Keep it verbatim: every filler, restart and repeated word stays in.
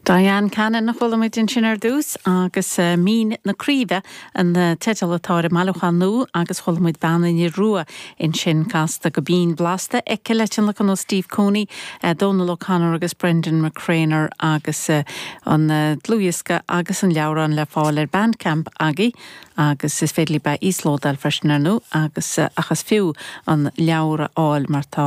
Diane Cannon a chuala muid ansin ar dtús agus uh, Mín na Craoibhe an uh, teideal atá ar an mbailiúchán nua agus chuala muid Bean an Fhir Rua ansin casta go binn blasta aici le tionlacan ó Steve Cooney, uh, Donal O'Connor agus Brendan McCrainer agus uh, an uh, dlúthdhiosca agus an leabhrán le fáil ar Bandcamp agaí agus is féidir libh íoslódáil freisin ar ndóigh agus uh, ach is fiú an leabhar a fháil mar tá